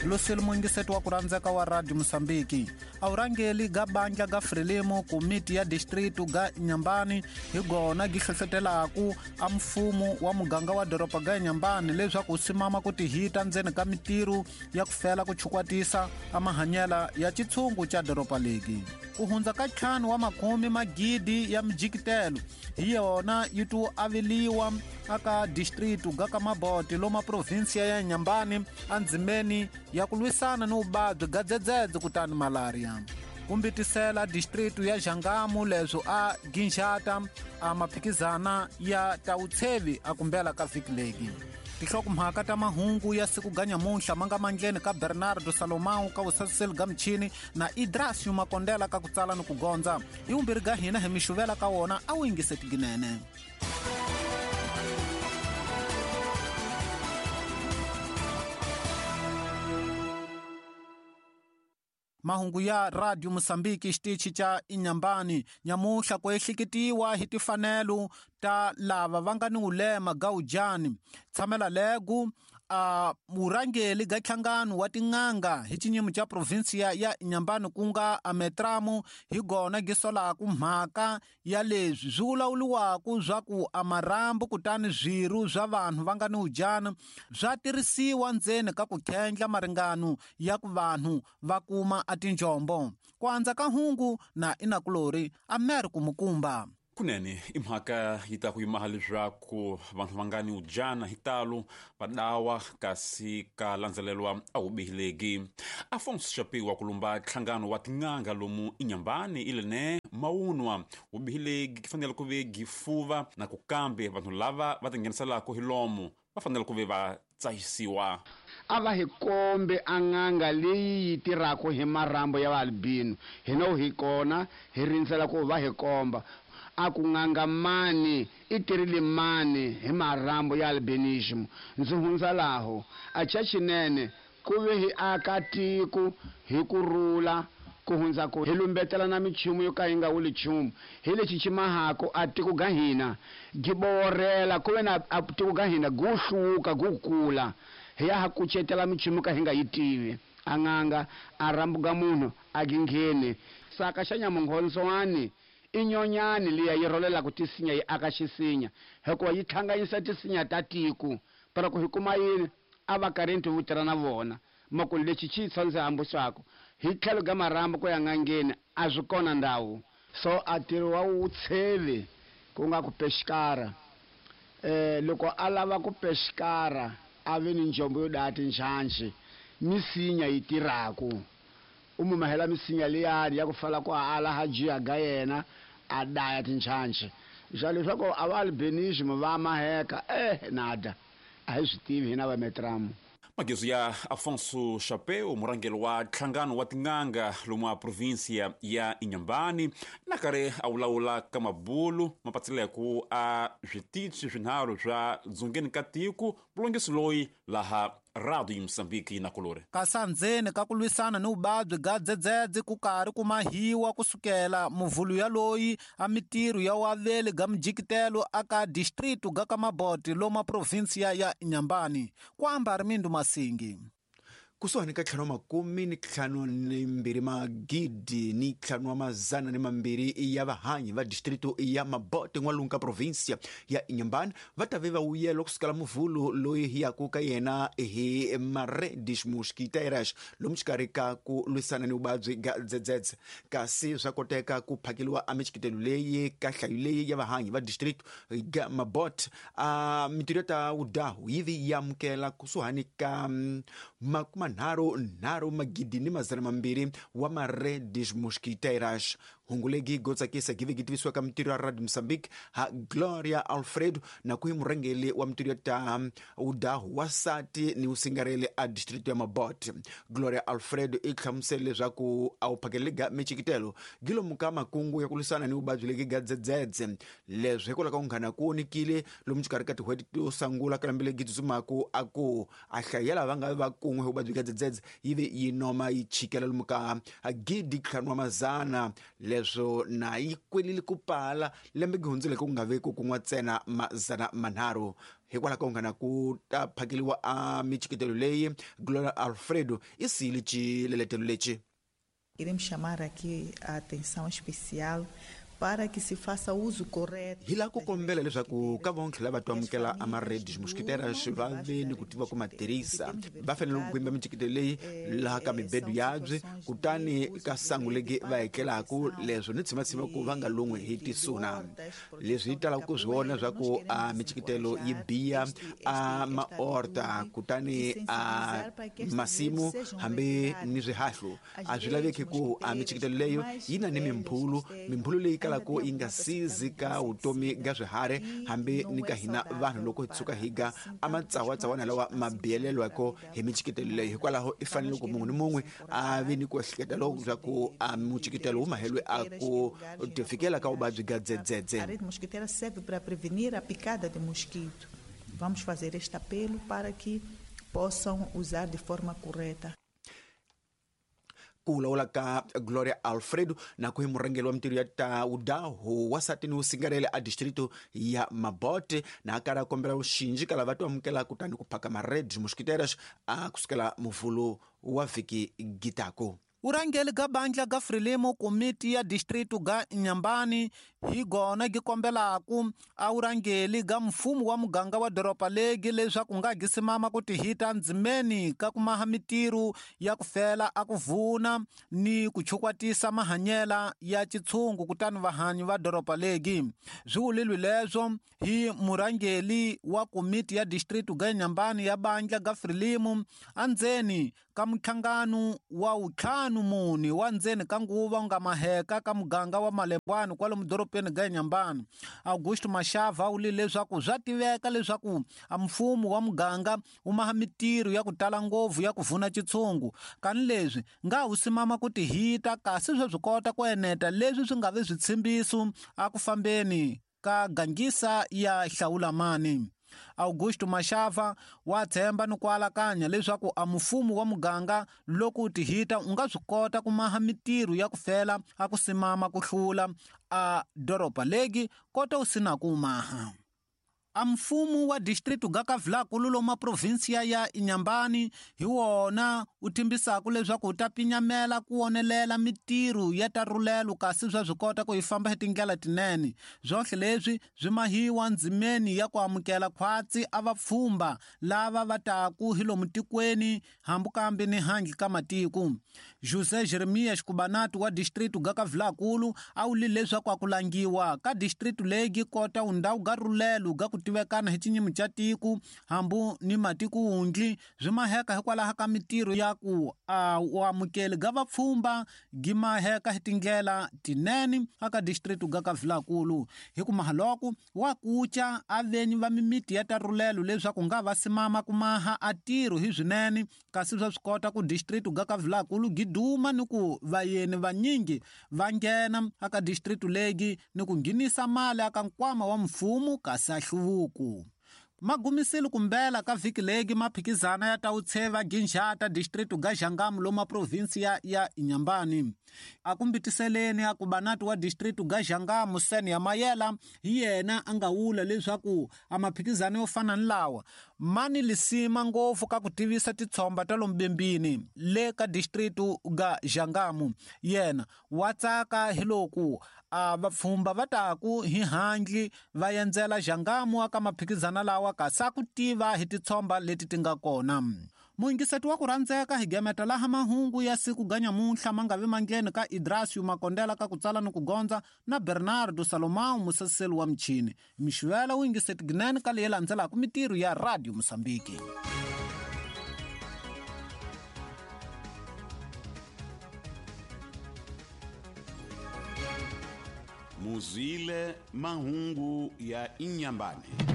Lucille muyingiseti wa ku rhandzeka wa Radio Mosambiki. A vurhangeli ga bandla ga Frelimo komiti ya distritu ga Inhambane hi gona gi hlohlotelaku a mfumo wa muganga wa doroba ga Inhambane leswaku wu simama ku tihita ndzeni ka mitirho ya ku fela ku chukwatisa a mahanyela ya xitshungu xa doroba legi. Ku hundza ka 5 wa makhume magidi ya mijikitelo hi yona yi to aveliwa aka distritu ga ka Mabote loma provinsia ya Inhambane endzimeni ya ku lwisana ni vuvabyi ga dzedzedze kutani malaria. Kumbitisela distritu ya Jangamo leswo a ginxata a maphikizana ya tawutshevi a kumbela ka vhiki legi. Tinhlokomhaka ta mahungu ya siku ga nyamuntlha ma nga mandleni ka Bernardo Salomão ka vusasiseli ga michini na Idrasio Makondela ka ku tsala ni ku gondza. Hi vumbirhi ga hina hi mi xuvela ka wona a wu yingise tiginene. Mahungu ya Radio Mosambiki xitichi xa Inhambane nyamuhla ku ehleketiwa hi tifanelo ta lava va nga ni vulema ga ujani. Tshamela legu a vurhangeli ga nhlangano wa tin'anga hi xinyimo xa provinsiya ya Inhambane ku nga Ametramu hi gona gi solaku mhaka ya leswi swi vulavuriwaka swa ku a marhambu kutani swirho swa vanhu va nga ni ujana swa tirhisiwa ndzeni ka ku khendla maringano ya ku vanhu va kuma a tinjombo. Ku andza ka hungu na inakulori a mer ku mukumba. Kunene i mhaka yi ta ku yimaha leswaku vanhu va nga ni ujana hi talo va dawa kasi ka landzelelwa a wu bihileki. Afonso Chapiwa ku lumba nhlangano wa tin'anga lomu Inhambane ilene mawunwa wu bihileki fanele ku ve gifuva na ku kambe vanhu lava va tingheniselaka hi lomu va fanele ku ve va tsahisiwa. A va hi kombe a n'anga leyi yi tirhaka hi marhambu ya vaalbino. Hina hi kona hi rindzela ku va hi komba. A ku n'anga mani i tirhile mani hi marhambu ya albinism. Ndzi hundza laho. A cha xinene ku ve hi aka tiko hi ku rhula ku hundza ku hi lumbetela na michumu yo ka yi nga wuli nchumu. Hi lexi xi mahako a tiko ga hina gi borela ku ve na a tiko ga hina gu hluvuka gu kula. Hi ya ha kucetela michumu ka hi nga yi tivi. A n'anga a rhambuka munhu a gi ngheni. Saka xa nyamunghondzwani i nyonyani liya yi rholelaka tisinya yi aka xisinya hikuva yi hlanganyisa tisinya ta tiko. Pero ku hi kuma yini a va karhi vo tirha na vona. Makulu lexi xi tsandze hambuxaku hi tlhelo ga marhambu ku ya n'angeni a swi kona ndhawu. So a ntirho wa vutshevi ku nga ku pexikara. Loko a lava ku pexikara a ve ni njombo yo daya tinjhanjhi misinya yi tirhaku. U mumahela misinya liyani ya ku fala ku ala ha jiya ga yena a daya tinjhanjhi. Ja leswaku a va albinism va maheka nada a hi swi tivi hina va Metramu. Magezu ya Afonso Chapeu murhangeri wa nhlangano wa tin'anga lomu a provinsia ya Inhambane na karhi a vulavula ka mabulu mapatsileko a switichi swinharhu swa dzongeni ka tiko vulongisi loyi laha Radio Mozambique na kulori. Kasi ndzeni ka ku lwisana ni vuvabyi ga dzedzedze ku karhi ku mahiwa kusukela muvhulu ya loyi a mitirho ya waveli ga mijikitelo aka distritu ga ka Mabote loma provinsia ya Inhambane. Ku amba Armindo Masingi. Kusuhani ka ntlhanu wa makume ni ntlhanu ni mbirhi magidi ni ntlhanu wa mazana ni mambirhi ya vahanyi va distrito ya Mabote n'walungu ka provinsia ya Inhambane va ta ve va wuyelo kusukela muvhulu loyi hi yaku ka yena hi Maredes Mosquiteiras lomu xikarhi ka ku lwisana ni vuvabyi ga dzedzedze. Kasi swa koteka ku phakeliwa a michikitelo leyi ka nhlayo leyi ya vahanyi va distrito ga Mabote a mitirho ta wudahu yi vi yi amukela kusuhani ka makumanharhu nharhu magidi ni mazana mambirhi wa Maredes Mosquiteiras. Hungu legi go tsakisa gi ve gi tivisiwa ka mitirho ya Radio Mozambique ha Gloria Alfredo na ku hi murhangeri wa mitirho ta wudahu wa sati ni wusingareli a distrito ya Mabote. Gloria Alfredo i hlamusele leswaku a wu phakeleli ga michikitelo gi lomu ka makungu ya ku lwisana ni vuvabyi legi ga dzedzedze. Leswi hikwalaho ka ku nghana ku vonekile lomu xikarhi ka tin'hweti to sungula ka lembe legi tsutsumaku a ku a hlayo ya lava nga va kun'we hi vuvabyi bya dzedzedze yi ve yi noma yi chikela lomu ka gidi ntlhanu wa mazana. Leswi Leswo na yi kwelile ku pala lembe gihundzile ku nga veku kun'wa ntsena 300. Hikwalaho ka ngana ku ta phakeliwa a michiketelo leyi, Gloria Alfredo i siyile xileletelo lexi. Queremos chamar aqui a atenção especial para que se faça uso correto. Hi lava ku kombela leswaku ka vontlhe lava to amukela a ma-red mosquiteras va ve ni ku tiva ku ma tirhisa. Va fanele ku gwimba michiketelo leyi laha ka mibedo yabye, kutani ka sangu legi va etlelaku, leswo ni tshimatshima ku va nga lun'wi hi tisuna. Leswi hi talaka ku swi vona swa ku a michiketelo yi biya a maorta, kutani a masimu hambi ni swihahlu a swi laveki ku a michiketelo leyo yi na ni mimphulu, mimphulu leyi kalaka yi nga sizi ka vutomi ga swiharhi hambi ni ka hina vanhu loko hi tshuka hi ga a matsawatsawana lawa ma biyelelwako hi michiketelo leyo. Hikwalaho i fanele ku mun'we ni mun'we a vi ni ku ehleketa loko swa ku a muchiketelo wu mahelwe a ku tifikela ka vuvabyi ga dzedzedze. A rede mosquiteira serve para prevenir a picada de mosquito. Vamos fazer este apelo para que possam usar de forma correta. Ku vulavula ka Gloria Alfredo na ku hi murhangeri wa mintirho ya ta wudahu wasati ni wusingarele a distrito ya Mabote, na a karhi a kombela vuxinji ka lava to amukela kutani ku phaka ma-red mosquiteras a kusukela muvhulu wa vhiki gitako. Urangeli ga bandla ga Frelimo komiti ya distrito ga Inhambane hi gona gi kombelaku a urangeli ga mfumo wa muganga wa doroba legi leswaku nga gi simama ku tihita ndzimeni ka ku maha mitirho ya ku fela a ku vuna ni ku chukwatisa mahanyela ya chitshungu kutani vahanyi va doroba legi. Swi vulilwe leswo hi murangeli wa komiti ya distrito ga Inhambane ya bandla ga Frelimo andzeni ka mhlangano wa 54 wa ndzeni ka nguva wu nga maheka ka muganga wa Malembwani kwalomu dorobeni ga Inhambane. Augusto Mashava u vule leswaku swa tiveka leswaku a mfumo wa muganga wu maha mitirho ya ku tala ngopfu ya ku vuna chitshungu, kani leswi nga wu simama ku tihita kasi swa swi kota ku eneta leswi swi nga vi switshembiso a ku fambeni ka gangisa ya hlawulamani. Augusto Mashava wa tshemba ni ku alakanya leswaku a mfumo wa muganga loko u tihita u nga swi kota ku maha mitirho ya ku fela a ku simama ku hlula a doroba legi kota u sina ku maha. A mfumo wa distrito ga Kavulakulu loma provinsia ya Inhambane hi wona u thembisaka leswaku u ta pinyamela ku wonelela mitirho ya ta rhulelo kasi swa swi kota ku yi famba hi tindlela tinene. Swohle leswi swi mahiwa ndzimeni ya ku amukela khwatsi a vapfhumba lava va taku hi lomu tikweni hambi kambe ni handle ka matiko. José Jeremias Kubanati wa distrito ga Kavulakulu a vule leswaku a ku langiwa ka distrito legi kota undhawu ga rhulelo ga ku tivekana hi xinyimi xa tiko hambi ni matiko wundli swi maheka hikwalaho ka mitirho ya ku a amukeli ga vapfhumba gi maheka hi tindlela tinene aka distrito ga Kavulakulu. Hi ku mahaloko wa kuca a venyi va mimiti ya ta rhulelo leswaku nga va simama ku maha a tirho hi swinene kasi swa swi kota ku distrito ga Kavulakulu gi duma ni ku vayeni vanyingi va nghena aka distrito legi ni ku nghenisa mali aka nkwama wa mfumo kasi a hluvuko. Magumisile kumbela ka vhiki legi maphikizana ya ta utsheva ginjata distrito ga Jangamo loma provinsia ya Inhambane. A ku mbitiseleni a ku banati wa distrito ga Jangamo Sen ya Mayela hi yena a nga wula leswaku a maphikizano yo fana ni lawa ma ni lisima ngopfu ka ku tivisa titshomba ta lomu bembini le ka distrito ga Jangamo. Yena wa tsaka hi loku a vapfhumba va taku hi handle va endzela Jangamo aka maphikizana lawa kasi a ku tiva hi titshomba leti ti nga kona. Muyingiseti wa ku rhandzeka hi gemeta laha mahungu ya siku ga nyamuntlha ma nga vi mangheni ka Idrasio Makondela ka ku tsala ni ku gondza na Bernardo Salomão musaseli wa michini. Mixivela wu yingiseti ginene ka leyi landzelaka mitirho ya Radio Mozambique. Muzwile mahungu ya Inhambane.